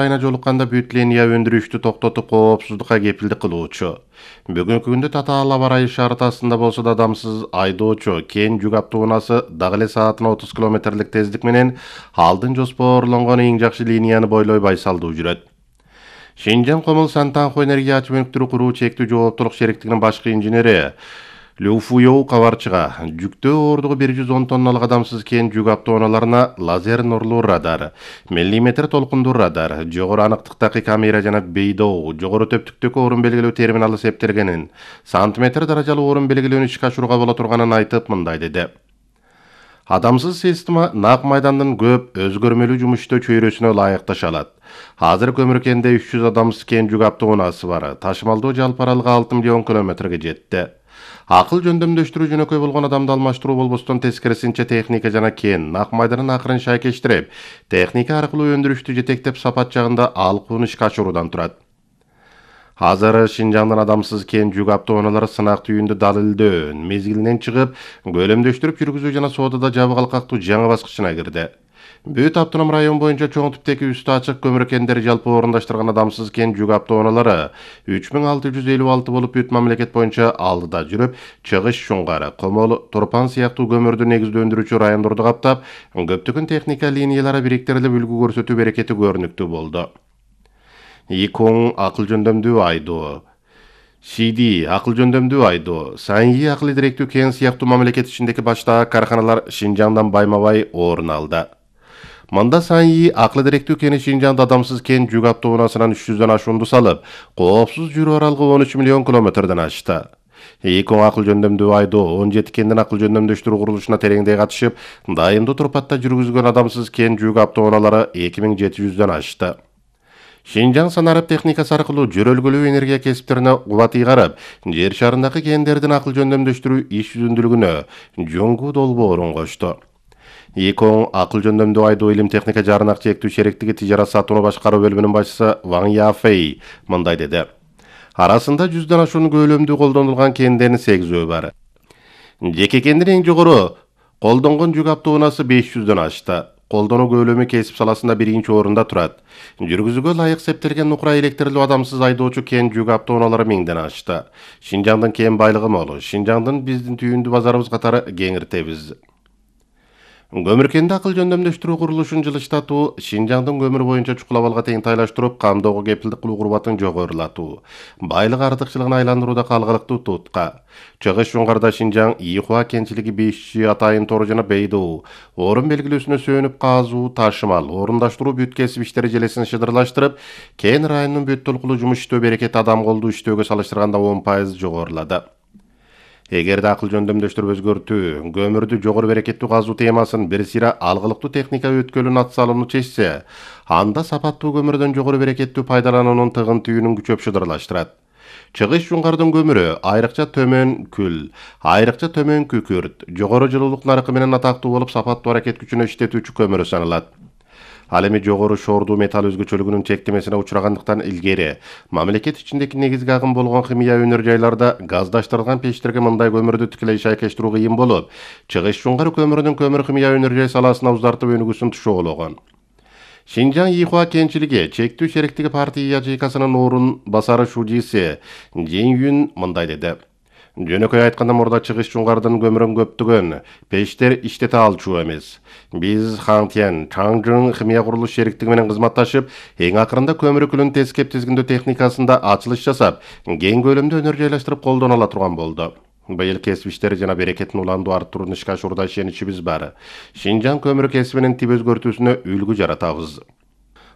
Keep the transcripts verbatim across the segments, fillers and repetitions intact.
айына жолукканда бүт линия өндүрүштү токтотуп коопсуздукка кепилдик кылуучу. Бүгүнкү күндө Татаал аба ырайы шартасында болсо да адамсыз айдоочу Кен жүк автоунаасы дагы эле саатына отуз километрлик тездик менен алдын жоспарланган эң жакшы линияны бойлой байсалдуу жүрөт. Шинжаң Комул Сантанхо энергия ачмөктүрү куруу чектүү жооптулук шериктигинин башкы инженери Лю Фуйоу кабарчыга жүктөө оордугу бир жүз он тонналык адамсыз Кен жүк автоунааларына лазер нурлуу радар, миллиметр толкундуу радар, жогору аныктыктагы камера жана бейдоо, жогору төптүктөгү орун белгилөө терминалы септелгенин, сантиметр даражалуу орун белгилөөнү ишке ашырууга боло турганын айтып мындай деди. Адамсыз система нак майдандын көп өзгөрмөлүү жумуштоо чөйрөсүнө ылайыкташа алат. Азыр Көмүркенде үч жүз адамсыз Кен жүк автоунаасы бар. Ташымалдоо жалпы аралыгы алты миллион километрге жетти. Акыл жөндөмдөштүрүү жөнөкөй болгон адамды алмаштыруу болбостон тескерисинче техника жана Кен нак майданын акырын шайкештирип, техника аркылуу өндүрүштү жетектеп сапат жагында алкууну ишке ашыруудан турат. Азыр Шинжаңдын адамсыз Кен жүк автоунаалары сынак түйүндү далилдөө мезгилинен чыгып, көлөмдөштүрүп жүргүзүү жана соодада жабык алкактуу жаңы баскычына кирди. Бүт автоном район боюнча чоң типтеги үстү ачык көмүркендер жалпы орундаштырган адамсыз Кен жүк автоунаалары үч миң алты жүз элүү алты болуп бүт мамлекет боюнча алдыда жүрүп, Чыгыш, Шуңгар, Комол, Турпан сыяктуу көмүрдү негиздөө өндүрүүчү райондорду каптап, көптөгөн техника линиялары бириктирилип үлгү көрсөтүү берекети көрүнүктүү болду. Икоң акыл жөндөмдүү айдоо, Сиди акыл жөндөмдүү айдоо, Саньи акыл идиректүү Кен сыяктуу мамлекет ичиндеги баштагы карканалар Шинжаңдан байма-бай орун алды. Мында Саньи акыл идиректүү Кени Шинжаңда адамсыз Кен жүк автоунаасынан үч жүздөн ашуунду салып, коопсуз жүрүү аралыгы он үч миллион километрден ашты. Икоң акыл жөндөмдүү айдоо он жети Кендин акыл жөндөмдөштүрүү курулушуна тереңдей катышып, дайымдуу турпатта жүргүзгөн адамсыз Кен жүк автоунаалары эки миң жети жүздөн ашты. Шинжаң санарып техникасы аркылуу жөрөлгөлүү энергия кесиптерине кубат ыйгарып, жер шарындагы кендердин акыл жөндөмдөштүрүү иш жүзүндүүлүгүнө жоңгу долбоорун кошту. Икоң акыл жөндөмдүү айдоо илим техника жаранак чектүү шериктиги тижарат сатууну башкаруу бөлүмүнүн башчысы Ван Яфей мындай деди. Арасында жүздөн ашуун көлөмдүү колдонулган кендердин сегизөө бар. Жеке кендин эң жогору колдонгон жүк автоунаасы беш жүздөн ашты. Колдонуу көлөмү кесип саласында биринчи орунда турат. Жүргүзүүгө ылайык септелген нукура электрлүү адамсыз айдоочу Кен жүк автоунаалары миңден ашты. Шинжаңдын кен байлыгы мол. Шинжаңдын биздин түйүндүү базарыбыз катары кеңиртебиз. Көмүркенде акыл жөндөмдөштүрүү курулушун жылыштатуу, Шинжаңдын көмүр боюнча чукулабалга тең тайлаштырып, камдоого кепилдик кылуу курбатын жогорулатуу, байлык артыкчылыгын айландырууда калгылыктуу тутка. Чыгыш, Шуңгарда Шинжаң Ийхуа кенчилиги беш атайын тору жана бейдоо, орун белгилөөсүнө сөөнүп казуу, ташымал, орундаштыруу бүт кесип иштери желесин шыдырлаштырып, Кен районунун бүт толкулуу жумуш иштөө берекети адам колдуу иштөөгө салыштырганда он пайыз жогорулады. Эгерде акыл жөндөмдөштүрүп өзгөртүү, көмүрдү жогору берекеттүү казуу темасын бир сыйра алгылыктуу техника өткөлүн атсалууну чечсе, анда сапаттуу көмүрдөн жогору берекеттүү пайдалануунун тыгын түйүнүн күчөп шыдырлаштырат. Чыгыш, Шуңгардын көмүрү айрыкча төмөн күл, айрыкча төмөн күкүрт, жогору жылуулук наркы менен атактуу болуп, сапаттуу аракет күчүнө иштетүүчү көмүрү саналат. Ал эми жогору шордуу металл өзгөчөлүгүнүн чектемесине учурагандыктан илгери мамлекет ичиндеги негизги агым болгон химия өнөр жайларда газдаштырылган печтерге мындай көмүрдү тикелей шайкештирүү кыйын болуп, Чыгыш, Шуңгар көмүрүнүн көмүр химия өнөр жай саласына узартып өнүгүүсүн тушоологон. Шинжаң Ийхуа кенчилиги чектүү шериктиги партия ячейкасынын орун басары шужиси Жен Юн мындай деди. Жөнөкөй айтканда, мурда Чыгыш, Шуңгардын көмүрүн көптөгөн печтер иштете алчу эмес. Биз Хантьян, Чаңжың химия курулуш шериктиги менен кызматташып, эң акырында көмүр күлүн тескеп тизгиндөө техникасында ачылыш жасап, кең көлөмдө өнөр жайлаштырып колдоно ала турган болду. Быйыл кесип иштери жана берекетин уландуу арттырууну ишке ашуурда ишеничибиз бар. Шинжаң көмүр кесибинин тип өзгөртүүсүнө үлгү жаратабыз.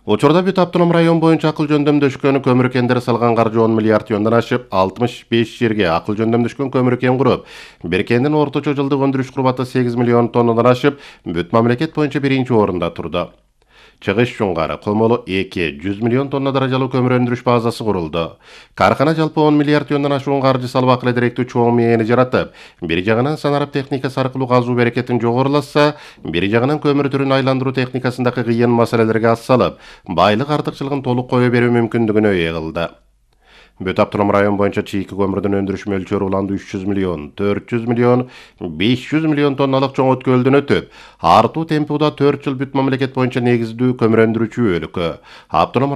Учурда бүт автоном район боюнча акыл жөндөмдөшкөн көмүр кендери салган каржы он миллиард тиондан ашып, алтымыш беш жерге акыл жөндөмдөшкөн көмүр кен куруп, бир кендин орточо жылдык өндүрүш курбаты сегиз миллион тоннадан ашып, бүт мамлекет боюнча биринчи орунда турду. Чыгыш, Шуңгар, Комол эки жүз миллион тонна даражалуу көмүр өндүрүш базасы курулду. Каркана жалпы он миллиард тиондан ашуун каржы салып акыл идиректүү чоң мээни жаратып, бир жагынан санарып техникасы аркылуу казуу берекетин жогорулатса, бир жагынан көмүр түрүн айландыруу техникасындагы кыйын маселелерге ас салып, байлык артыкчылыгын толук кое берүү мүмкүндүгүнө ээ кылды. Бүт автоном район боюнча чийки көмүрдүн өндүрүш мөлчөрү уланды үч жүз миллион, төрт жүз миллион, беш жүз миллион тонналык чоң өткөлдөн өтүп, артуу темпи уда төрт жыл бүт мамлекет боюнча негиздүү көмүр өндүрүүчү өлкө. Автоном